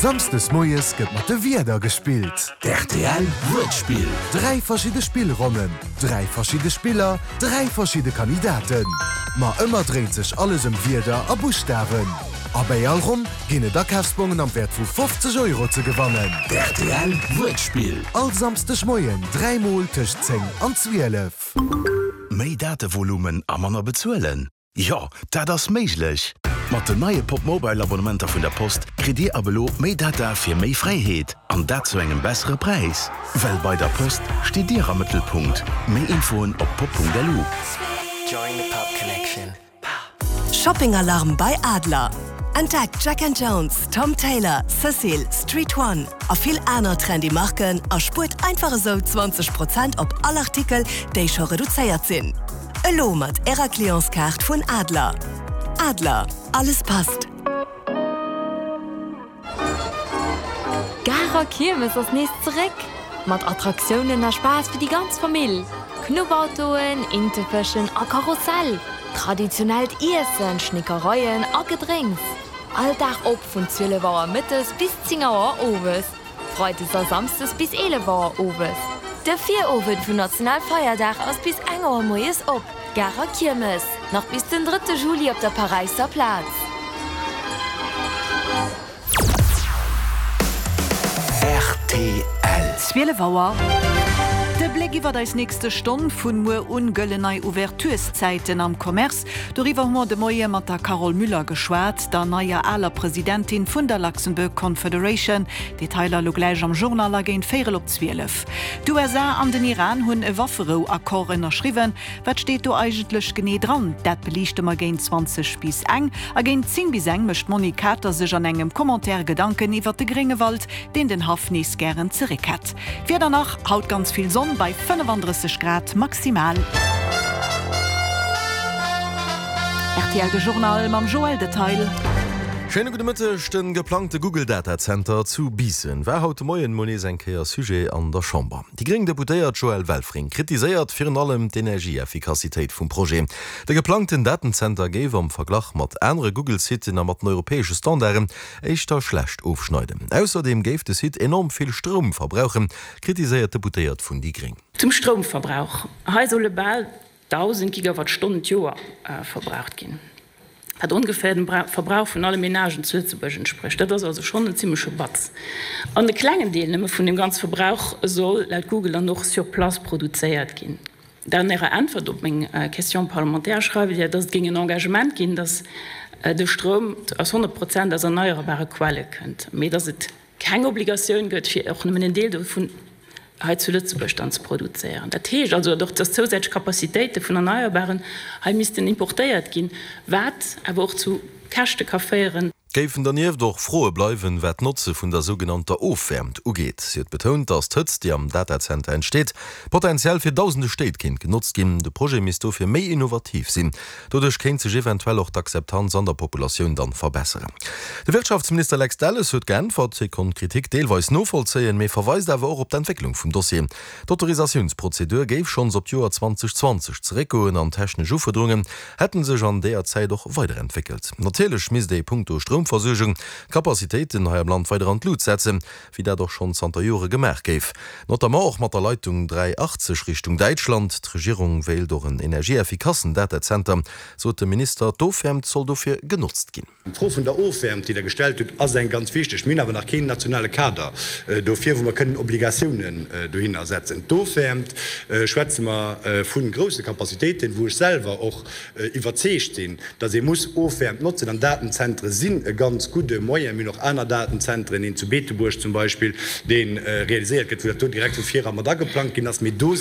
Samsdes moies gëtt mat de Wierder gespillt. D'RTL Wuertspill. 3 verschidde Spillronnen, 3 verschidde Spiller, 3 verschidde Kandidaten. Ma ëmmer dréint sech alles ëm Wierder a Buschtawen. A bäi all Ronn ginn et Akafsbongen am Wäert vu 50 Euro ze gewannen. D'RTL Wuertspill. All Samsdeg Moien 3 mol tëscht 10 an 12. Méi Datevolumen a manner bezuelen? Jo, dat ass méiglech! Mat den neie Popmobile Abonnementer vun der Post kritt Dir ab elo méi Data fir méi Fräiheet, an dat zu engem bessere Präis. Well bei der Post steet Dir am Mëttelpunkt. Méi Infoen op pop.lu. Shopping Alarm bei Adler! Entdeckt Jack and Jones, Tom Tailor, Cecil, Street One a vill aner trendy Marken a spuert einfach esou 20 Prozent op all Artikel, déi scho reduzéiert sinn. Elo mat Ärer Clientskaart vun Adler. Adler, alles passt. D'Garer Kiermes ass nees zeréck! Mat Attraktiounen a Spaass fir déi ganz Famill, Knuppautoen, Intefëschen a Karussell, traditionellt Iessen, Schnickereien a Gedrénks. All Dag op vun 12 Auer mëttes bis 10 Auer owes. Freides a Samsdes bis 11 Auer owes. De Virowend vun Nationalfeierdag ass bis eng Auer moies op. Garer Kiermes, nach bis den drëtte Juli op der Paräisser Plaz. Rtl. 12 Auer. De Bléck iwwert eis nächste Stonn, Vun muer un gëllen nei Ouvertureszäiten am Commerce. Doriwwer hu mer de Moie mat der Carole Müller geschwat, der neier aler Presidentin vun der Luxembourg Confederation. Detailer elo gläich am Journal a géint véierel op 12. D'USA an den Iran hunn e Wafferou-Accord ënnerschriwwen. Wat steet do eigentlech genee dran? Dat beliichte mer géint 20 bis eng. A géint 10 bis eng mécht d'Monique Kater sech an engem Commentaire Gedanken iwwert de Gréngewald, deen den Haff nees gären zeréck hätt. D'Wieder nach, Haut ganz vill Sonn bei 35 Grad maximal. Rtl De Journal mam Joël Detail. Schéine gudde Mëtteg. De geplangte Google Datazenter zu Biissen war haut de Moien mol nees eng Kéier Sujet an der Chamber. Déi gréng Deputéiert Joëlle Welfring kritiséiert virun allem d'Energieeffikassitéit vum Projet. De geplangten Datenzenter géif am Verglach mat anere Google-Siten a mat den europäesche Standarden éischter schlecht ofschneiden. Ausserdeem géif de Site enorm vill Stroum verbrauchen, kritiséiert d'Deputéiert vun déi gréng. Zum Stroumverbrauch, Hei solle bal 1.000 Gigawattstonnen d'Joer verbraucht ginn, wat ongeféier dem Verbrauch vun alle Menagen zu Lëtzebuerg entsprécht. Dat ass also schonn en zimmleche Batz. An e klengen Deel nëmme vun deem ganze Verbrauch soll laut Google dann och sur place produzéiert ginn. An Ärer Äntwert op meng Question parlementaire schreift Dir, dass et géing en Engagement ginn, dass de Stroum aus 100 Prozent aus erneierbare Quelle kënnt, mee dass et keng Obligatioun gëtt, fir och nëmmen en Deel dovun hei zu Lëtzebuerg dann ze produzéieren. Dat heescht also och, dass zousätzlech Capacitéite vun Erneierbaren hei missten importéiert ginn, wat awer och zu Käschte ka féieren. Géifen dernieft och Froe bleiwen, wat d'Notze vun der sougenannter Ofwäermt ugeet. Si huet betount, datt d'Hëtzt, déi am Datazenter entsteet, potenziell fir dausende Stéit kéint genotzt ginn. De Projet misst dofir méi innovativ sinn. Doduerch kéint sech eventuell och d'Akzeptanz an der Populatioun dann verbesseren. De Wirtschaftsminister Lex Delles huet geäntwert. Hie konnt d'Kritik deelweis novollzéien, mee verweist awer och op d'Entwécklung vum Dossier. D'Autorisatiounsprozedur géif schonns op d'Joer 2020 zeréckgoen an technesch Ufuerderungen hätte sech an deeër Zäit och weiderentwéckelt. Natierlech misst ee punkto Stroumversuergung d'Capacitéiten hei am Land weider an d'Lut setzen, wéi dat och schonn zanter Jore gemaach géif, notamment och mat der Leitung 380 Richtung Däitschland. D'Regierung wéilt och en energieeffikassen Datazenter, sot de Minister. D'Ofwäermt soll dofir genotzt ginn. D'Fro vun der Ofwäermt, déi Der gestellt hutt, ass eng ganz wichteg. Mir hunn awer nach keen nationale Kader dofir, wou mer kënnen Obligatiounen dohinner setzen. D'Ofwäermt, schwätze mer vu grousse Capacitéiten, wou ech selwer och iwwerzeegt sinn, datt ee muss Ofwäermt notzen, an Datenzentre sinn e ganz gudde Moyen. Mir hunn och aner Datenzentren, een zu Beetebuerg zum Beispill, dee realiséiert gëtt, wou dat do direkt vu vir era mat ageplangt ginn ass. Mee do.